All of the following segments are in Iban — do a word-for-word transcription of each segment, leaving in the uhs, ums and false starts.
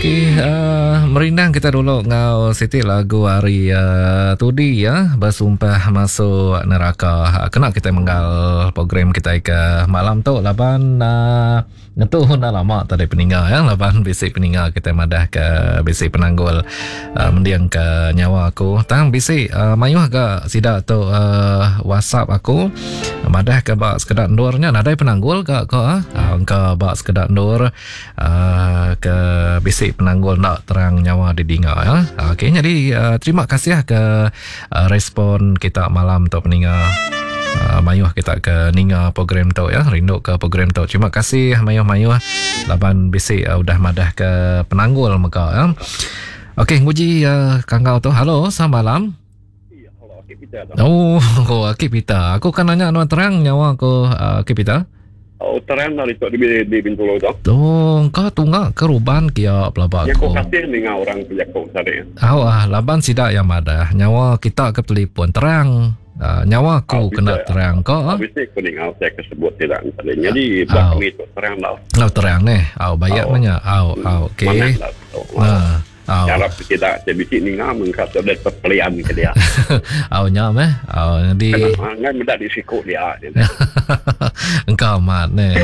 Okey, uh, merindang kita dulu ngau siti lagu hari uh, tudi ya, bersumpah masuk neraka. Kena kita menggal program kita ke malam tu laban uh, ngetu dah lama tadi peninga ya, laban bisi peninga kita madah ke bisi penanggul uh, mendiang ke nyawa aku. Tang bisi uh, mayuh ke sida tu uh, WhatsApp aku madah ke bak sekedar ndurnya nadai penanggul ke ke uh, ke bak sekedar ndur uh, ke bisi penanggul nak terang nyawa didinga ya. Okey, jadi uh, terima kasih ke uh, respon kita malam tu peninga. Uh, mayuh kita ke ninga program tu ya, rindu ke program tu. Terima kasih mayuh-mayuh laban bisi uh, udah madah ke penanggul mega ya. Okey, nguji uh, kangau tu. Halo, selamat malam. Ya, halo, Akik Peter. Oh, oh, Akik Peter. Aku kan nanya nuan terang nyawa aku uh, Akik Peter. Oh, terang dari tu di di Bintulu tu. Oh, kau tunggak keruban kia pelabak aku. Ya, aku kasih dengan orang pejakuk tadi. Oh, ah, laban sidak yang madah nyawa kita ke telefon terang. Uh, nyawa aku oh, kena bisa, terang kau. Oh, bisa aku dengar saya kesebut tidak tadi. Jadi oh. Kami tu terang lah. Oh, terang ni. Oh, bayar oh. Banyak. Oh, oh, okey. Nah. Oh. Harap tidak saya bisik ninga mengkat ada terpelian ke dia. Oh, nyam eh. Oh, jadi ngan mendak di sikuk dia. Engkau amat ne.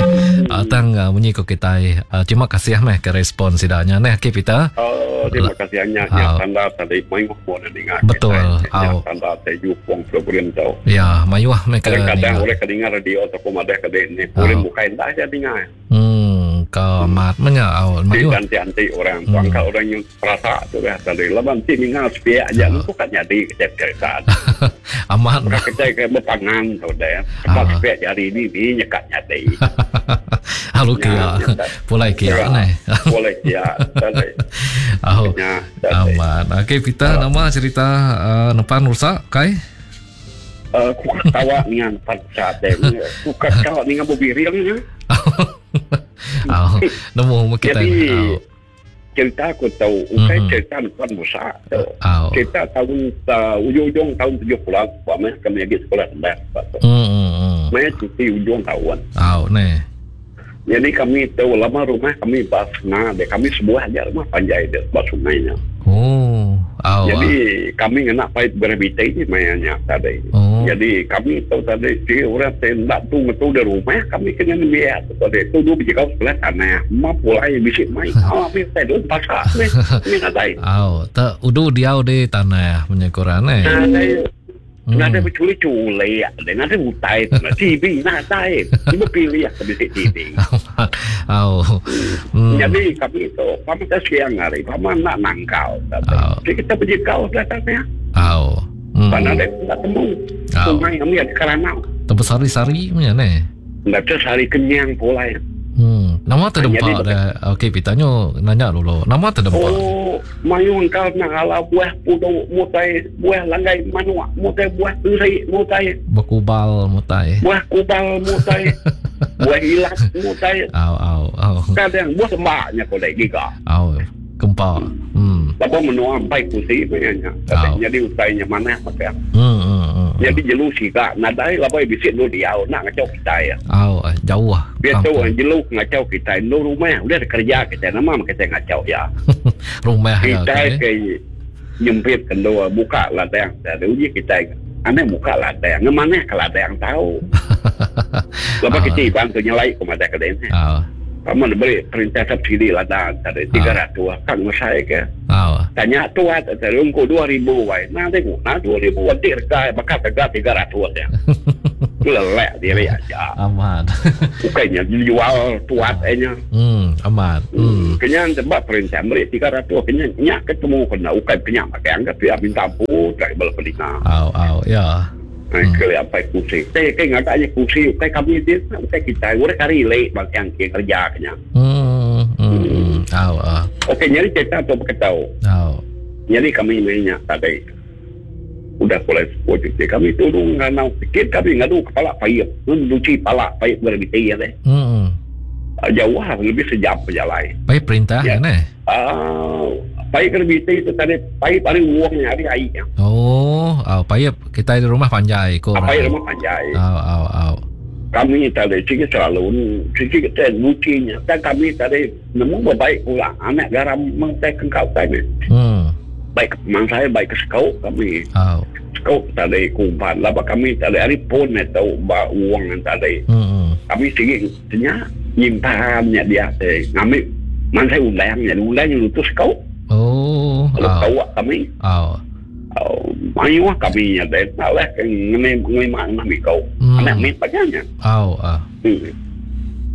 Uh, tang uh, munyi ko kita. Uh, terima kasih meh ke respon sidanya neh Akik Peter. Oh, terima kasih nya nya tanda tadi mayuh pun dengar. Betul. Oh. Tanda saya jupong program tu. Ya, mayuh meh ke. Kadang-kadang oleh kedengar radio atau madah ke ni, boleh buka indah aja dengar. Hmm, kau amat menya au mayuh. Anti-anti orang, hmm. Angka orang yang rasa tu dah tadi. Laban ti ningal sepiak aja uh. Bukan jadi kecep cerita. Amat. Bukan kecep ke berpangan tu dah. Sebab uh. Sepiak jari ni ni nyekat nyati. Halo kia. Pulai kia ni. Pulai kia. Oh. Amat. Okey, kita nama cerita uh, nepan rusak kai? Uh, ku ketawa dengan nepan rusak deh. Ku ketawa dengan bobiril ni. Oh, nemu kita. Jadi, cerita aku tahu, bukan mm-hmm. cerita depan besar. Oh. Cerita tahun uh, ujung-ujung tahun tujuh puluh, buat kami lagi sekolah rendah. Mm-hmm. Maya cuti ujung tahun. Oh, ni. Jadi kami tahu lama rumah kami bas sungai, deh. Kami sebuah aja rumah panjai deh, bas sungainya. Oh. Oh, jadi ah. Kami kena pait graviti ni mayanya tadi. Oh. Jadi kami tahu tadi si orang tembak tu ngetu dari rumah kami kena biar tu tadi tu dulu biji kau sebelah tanah. Ma pulai bisik mai. Oh, habis tadi pasar ni. Ni nadai. Oh, tak udu diau di tanah punya koran eh. Nadai. Nadai berculi-culi, nadai utai, T V nadai. Ibu pilih ya bisik T V. Oh. Hmm. Jadi kami itu, kami tak siang hari, kami nak nangkau. Jadi kita pergi kau sebelah tanah. Oh. Hmm. Mana ada tak temu. Sungai kami ada keranau. Tempat sari-sari punya ni. Nak sari kenyang pula ya. Hmm. Nama terdempak dah. Okey, pitanyo nanya dulu. Nama terdempak. Oh, mayung kau nak ala buah puduk mutai buah langgai manuak mutai buah teri mutai berkubal mutai. Buah kubal mutai. Buah hilat mutai. Au au au. Kadang buah sembaknya kau lagi giga. Au, gempa. Hmm. Lepas menua sampai kursi punya. Jadi utainya mana pakai. Hmm, hmm, hmm. Jadi jelu siga nadai labai bisik lu diau nak ngacau kita ya. Au, jauh ah. Biar tu jelu ngacau kita lu rumah udah kerja kita nama kita ngacau ya. Rumah ya. Kita ke nyempit kendua buka ladang. Dari uji kita aneh buka ladang, ngemana ke ladang tahu. Lepas kita bantu nyelai ke mana ke dene. Ah. Kamu beri perintah subsidi ladang tadi tiga ratus kan saya ke. Ah. Tanya tuat tadi ungku dua ribu wai. Nah tengok nah dua ribu nanti harga bakal harga tiga ratus ya. Lelek diri aja. Aman. Bukannya jual tuat nya. Hmm, aman. Hmm. Kenyang sebab perintah beri tiga ratus kenyang nyak ketemu kena ukai kenyang pakai angkat dia minta ampun tak boleh pelina. Au au ya. Hmm. Kali apa kursi? Saya kayak ngagaknya kursi, kayak kami dia, kayak kita, orang kari lek bang yang kerja kenyang. Hmm, hmm, hmm. Oh, uh. Okey, nyari cerita atau berketau. Oh. Nyari kami mainnya tadi. Udah mulai sepuluh cuti kami turun nganau sikit kami ngadu kepala payap, nuci pala payap graviti ya deh. Hmm. Jauh lah, lebih sejam berjalan. Payap perintah ya. Ni? Ah, payap graviti itu tadi payap paling uangnya hari air. Oh, oh, payap kita di rumah panjai ko. Ah, payap rumah panjai. Oh, oh, oh. Kami tadi sigi selalu sigi kita nucinya. Dan kami tadi nemu baik pula anak garam mengtai kengkau tadi. Hmm. Baik mang saya baik ke sekau kami. Oh. Sekau tadi kumpan laba kami tadi hari pun atau ba uang tadi. Hmm. Kami sigi tanya nyimpannya dia teh. Kami mang saya undangnya, undangnya lutus sekau. Oh. Lalu tahu kami. Oh. Oh, mayu kami nya deh. Alah ngene ngene mana mikau. Anak mi paganya. Oh, ah. Hmm.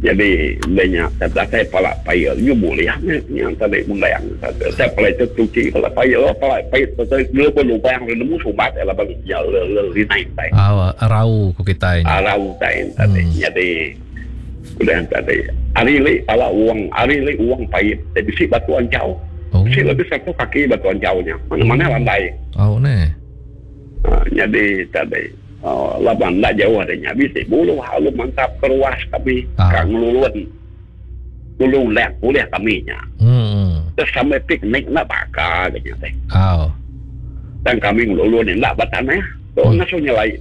Jadi lenya saya palak payah you boleh yang tadi undang saya palak itu cuci palak payah palak payah tu dulu pun lubang nemu sumbat lah bang ya le naik tai. Ah, rau ku kita ini. Rau tai tadi. Jadi udah tadi hari li palak uang hari li uang payah tapi bisi batu ancau. Oh. Bisi lebih satu kaki batu ancaunya. Mana-mana landai. Oh ne. Uh, jadi tadi oh, laban tak jauh adanya bisi bulu halu mantap keruas kami ah. Kang luluan lulu lek boleh kami nya. Hmm. Terus sampai piknik nak bakar katanya teh. Oh. Dan kami ngeluluan ni nak batanah. Tu hmm. nak suruh nyelai.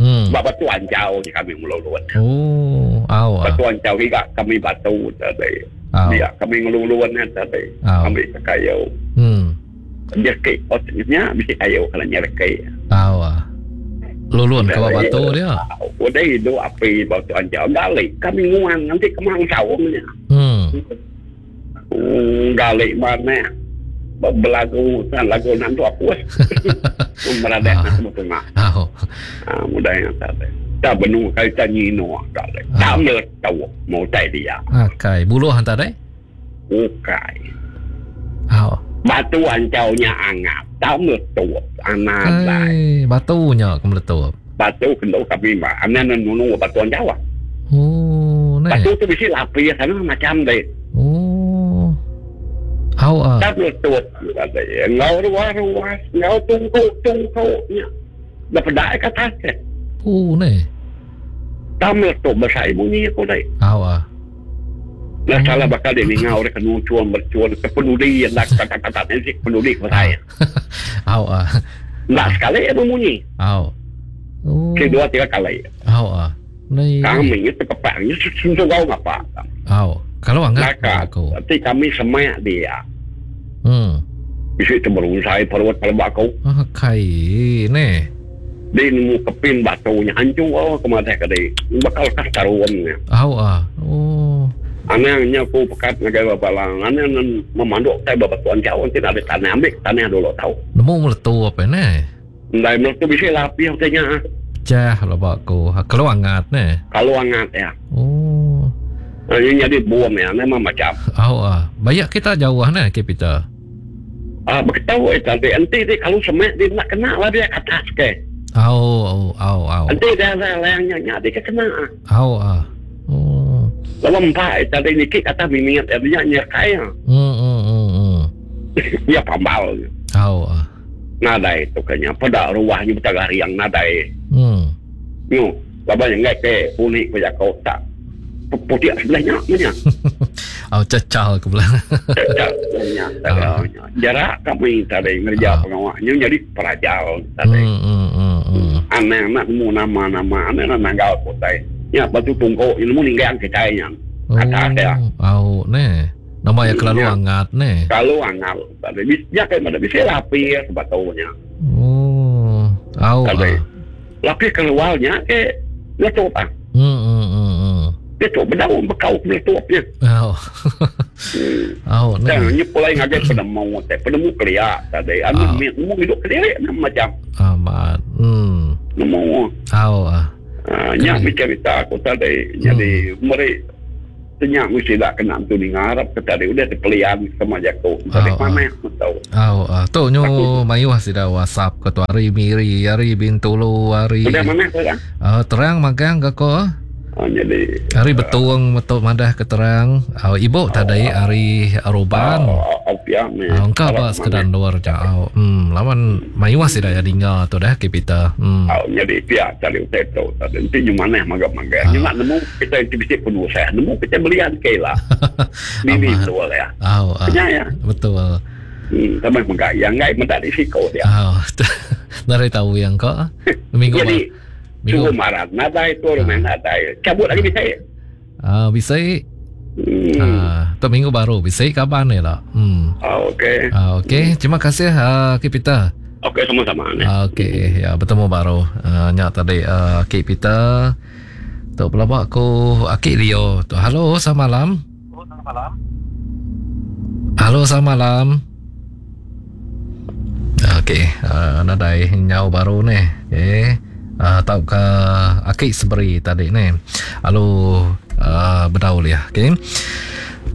Hmm. Bab batu ancau ni kami ngeluluan. Oh, aw. Batu ancau juga kami batu tadi. Oh. Dia kami ngeluluan ni tadi. Oh. Ambil kayu. Hmm. Dia ke otnya bisi kayu kalau nyerkai. Oh. Luluan ke batu dia. Udah hidup api batu ancau galik kami nguang nanti kemang sawungnya. Hmm. Hmm, galik mana? Belagu tan lagu nanti aku. Berada nak semua. Oh. Ah, mudah yang tak ada. Tak benung kali tak nyino galik. Tak meletup mau tai dia. Akai buluh hantar deh. Ukai. Oh. Batu ancaunya angap. Tak meletup anak lai. Batunya ke meletup. Batu kena kami mah. Anak nunu batu ancau. Oh, ne. Batu tu bisi lapis sana macam deh. Oh. Au ah. Tak meletup. Ngau ruas-ruas, ngau tungku-tungkunya. Dah pedak ke atas. Oh, ne. Tak meletup besar bunyi aku deh. Au ah. Lah salah bakal dia ngau dia kena cuan bercuan ke pendudi yang nak kata-kata nanti pendudi ke saya. Au ah. Nak sekali dia bunyi. Au. Oh. Ke dua tiga kali. Au ah. Ni kami itu kepang itu kau ngapa? Au. Kalau angkat aku. Nanti kami semak dia. Hmm. Bisa itu berusaha perut kalau aku. Ah kai ni. Dia nemu kepin batunya hancur oh kemana ke dia. Bakal kastaruannya. Au ah. Oh. Anehnya aku pekat ngagai bapak lang. Aneh memanduk saya bapak tuan jauh nanti ada tanah ambil tanah dulu tahu. Nemu meletup apa ni? Ndai meletup bisa lapis katanya. Cah lah bakku. Kalau hangat ni. Kalau hangat ya. Oh. Ini jadi buam ya, memang macam. Oh ah, banyak kita jauh ni ke Peter. Ah, beritahu eh tadi nanti dia kalau semak dia nak kena lah dia ke atas ke. Oh, oh, oh, oh. Nanti dia layangnya dia kena. Oh ah. Oh. Lalu empat tadi ni kata minat dia nyerkai. Hmm hmm hmm. hmm. Dia pambal. Oh ah. Nadai tu kena pada ruahnya bertagari yang nadai. Hmm. Yo, laban yang ke unik punya kau tak. Putih sebelahnya punya. Oh, cacal ke belah. Cacal sebelahnya. Oh. Jarak kami tadi ngerja oh. pengawaknya jadi perajal tadi. Hmm, hmm, hmm, hmm. Anak-anak nemu nama-nama, anak-anak nanggal putih. Ya, batu tunggu, ilmu ninggang kita yang atas ya. Oh, ne. Nama ya kelalu hangat ne. Kalau hangat tadi ya kayak mana bisa lapis sebetulnya. Oh, au. Tadi. Lapis keluarnya ke letup ah. Hmm, hmm, hmm, hmm. Dia tu berdaun bekau meletupnya. Oh. Oh, ne. Dan ni pulai ngagai penemu, teh penemu kelia tadi. Anu nemu hidup kelia macam. Amat. Hmm. Nemu. Oh ah. Ah, nyak cerita aku tadi. Jadi mereka tanya mesti tak kena tu ni ngarap ke tadi udah terpelian sama jago. Tadi mana aku tahu. Oh, ah, tu nyu mayuh sida WhatsApp ke tu hari Miri, hari Bintulu, hari. Udah mana kau dah? Ah, terang magang ke ko? Oh, jadi hari betung metuk madah ke terang. Oh, ibu tadi hari Aruban. Oh, oh, ya, oh, engkau apa sekedar luar jauh. Hmm, lawan mayuh sida ya dengar tu dah ke Peter. Hmm. Oh, jadi pihak cari utai tu. Tadi nanti mana maga-maga. Ni nak nemu kita bisik penuh saya. Nemu kita belian ke lah. Ini betul ya. Oh, ah. Ya, ya. Betul. Hmm, tambah maga yang ngai mendak risiko dia. Oh, dari tahu yang kau. Minggu jadi Suruh marah nadai tu rumah nadai. Cabut lagi bisa. Ah, bisa. Hmm. Ah, tu minggu baru bisa kaban ni lah. Hmm. Ah, okey. Ah, okey, terima kasih uh, Ki Peter. Okey, sama-sama ni. Ah, okey, ya bertemu baru. Uh, nyak tadi uh, Ki Peter. Tu pelabak aku Aki Leo. Tu halo, selamat malam. Halo, selamat malam. Okey, uh, nadai nyau baru ni. Okey. Uh, tau ke Aki Seberi tadi ni. Halo, uh, bedaul ya. Okey.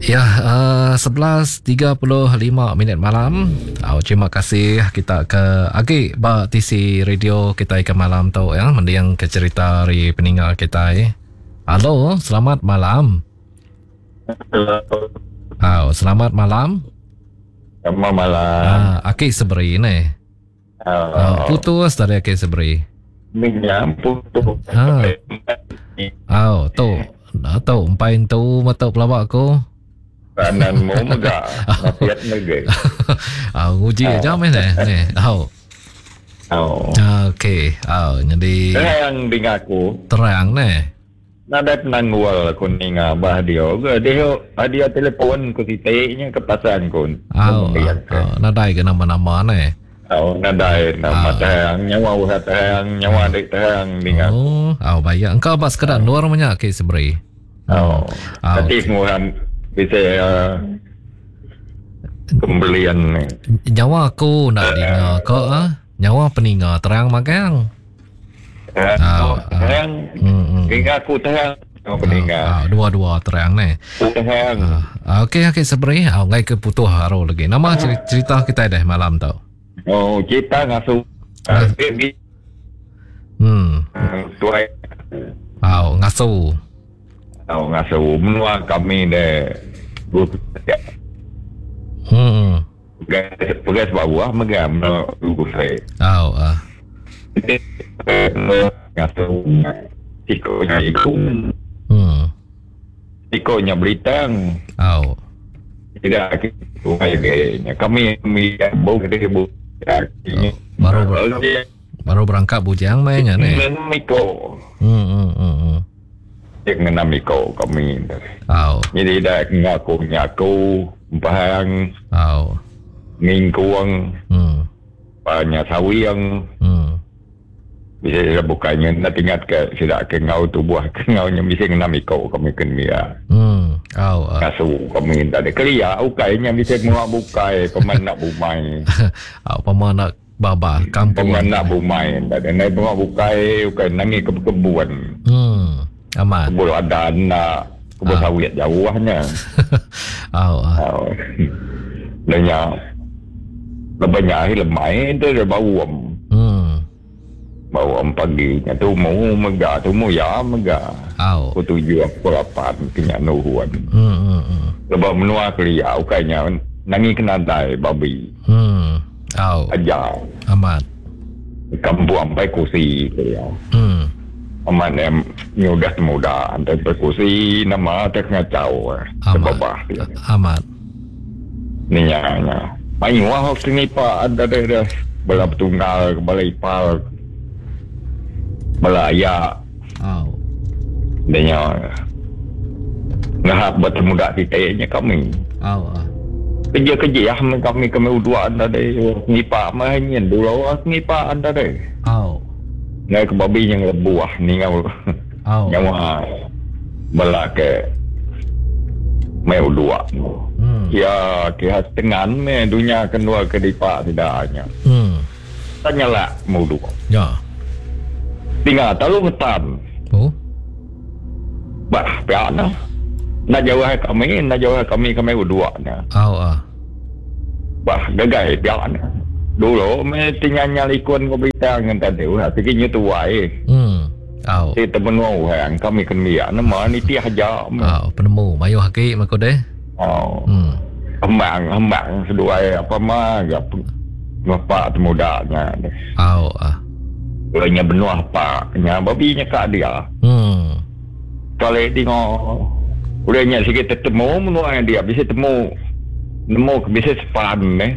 Ya, uh, sebelas tiga puluh lima minit malam. Oh, terima kasih kita ke Agi ba T C Radio kita ke malam tu ya, mending ke cerita hari peninggal kita. Eh. Halo, selamat malam. Halo. Oh, selamat malam. Selamat malam. Ah, Aki Seberi ni. Oh. Oh, putus tadi Aki Seberi. Minyak putus. Ha. Oh, tu. Tu empai tu metuk pelawak aku. Kanan mu mega nasihat negeri. Ah, nguji aja meh ni. Ni. Oh. Oh. Okey. Oh, jadi terang dengan aku. Terang ni. Nadai penanggual aku ninga bah dia ke dia dia telefon ku sitiknya ke pasan ku. Oh, oh, nadai ke nama-nama ni. Oh, nadai nama terang nyawa uhat terang nyawa dik terang ninga. Oh, oh baik. Engkau apa sekedar luar banyak ke seberi. Oh. Tapi semua bisa uh, pembelian ni. Nyawa aku nak dengar ke ah? Nyawa peninga terang magang. Uh, terang. Dengar aku terang. Nyawa peninga. Uh, dua-dua terang ni. Terang. Uh, okey okey seberi. Ah, ngai ke putuh haru lagi. Nama cerita kita dah malam tu. Oh, cerita ngasu. Uh, hmm. Tuai. Oh, ngasu. Oh, ngasu menua kami deh. Hmm. Pegas bawah megam lugu saya. Oh, ah. Ngasu tikonya iku. Hmm. Tikonya beritang. Oh. Tidak kami kami bau gede bu. Baru ber, baru berangkat bujang mainnya ni. Miko. Hmm hmm hmm. Dengan Miko kami. Oh. Jadi dah ngaku ngaku bahang. Oh. Ngingkuang. Hmm. Banyak sawiang. Hmm. Bisa bukannya nak ingat ke tidak ke ngau tu buah ke ngaunya bisa ngena Miko kami kena. Hmm. Oh. Kasu kami tak ada kelia ukainya bisa menguak bukai peman nak bumai. Oh, peman nak baba kampung. Peman nak bumai tak ada naik menguak bukai ukai nangi ke kebun. Hmm. Aman. Kebun ada nak kebun sawit jauhnya. Oh. Oh. Lenya lebihnya akhir lemai tu dia bau am. Hmm. Bau am pagi nya tu mau mega tu mau ya mega. Oh. Aku tujuh aku lapan kenya nuhuan. Hmm hmm hmm. Lebah menua kelia ukainya nangi kena dai babi. Hmm. Oh. Aja. Aman. Kampung ampai kursi kelia. Hmm. Aman em nyudah muda antar perkursi nama tak ngacau. Amat. Amat. Ni nya. Main wah sini pak ada dah dah bala tunggal bala ipal bala ayak. Oh. Dia ngahap buat muda kita nya kami. Oh. Kerja-kerja ah kami kami dua anda deh ngipak mah nyen dulu ah ngipak anda deh. Oh. Ngai ke babi yang lebuah ni ngau. Oh. Nyawa bala ke mai dua. Hmm. Ya ke tengan me dunia kedua ke dipak tidaknya. Hmm. Tanyalah mau dua. Ya. Tinggal talu ngetan. Oh. Bah, piana. Nak jauh kami, nak jauh kami kami dua nya. Oh ah. Bah, gagai piana. Dulu me tinggal nyalikun ko berita ngan tadi ulah tiginya tuai. Hmm. Oh. Ti temen orang kami kena nama ni tiah aja. Oh, penemu mayu haki mako deh. Oh. Hmm. Hembang hembang seduai apa mah gap bapak temudanya. Oh ah. Ulahnya benua apa nya babi nya kak dia. Hmm. Kalau tengok ulahnya sikit tetemu menua dia bisa temu nemu bisa sepan eh.